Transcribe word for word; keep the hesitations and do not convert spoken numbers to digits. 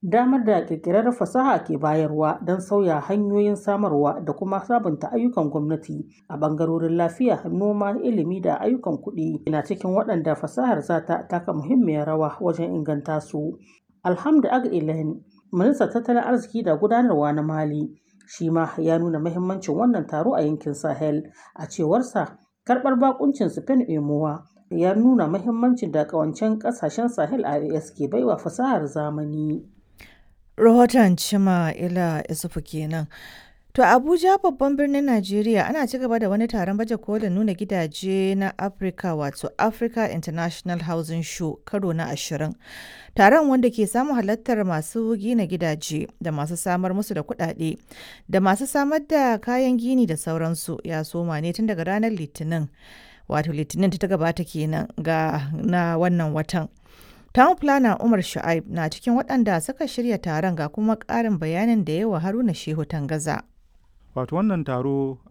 Damar da ƙirƙirar fasaha ke bayarwa don sauya hanyoyin samarwa da kuma sabunta ayyukan gwamnati a ɓangarorin lafiya, noma, ilimi da ayyukan kuɗi na cikin waɗanda fasahar za ta taka muhimmiyar rawa wajen inganta su. Alhamdu Ag Ilhen, ministan tattalin arziki da gudanarwa na Mali, shi ma ya nuna muhimmancin wannan taro a yankin Sahel. A cewarsa, karɓar bakuncin Spain Emowa ya nuna muhimmancin da ƙawancen ƙasashen Sahel I A S ke baiwa fasahar zamani. Rahoton Chima Ila Isufu kenan. To, Abuja, babban birnin Najeriya, ana ci gaba da wani taron baje kolin nuna gidaje na Africa, wato Africa International Housing Show karo na ashirin. Taron, wanda ke samun halartar masu gina gidaje da masu samar musu da kuɗaɗe da masu samar da kayan gini da sauransu, ya soma ne tun daga ranar Litinin. Wato Litinin ta gabata kenan ga na wannan watan. Town Planner Umar Shu'aib na cikin waɗanda suka shirya taron, ga kuma ƙarin bayanin da yawa Haruna Shehu Tangaza. Wato wannan taro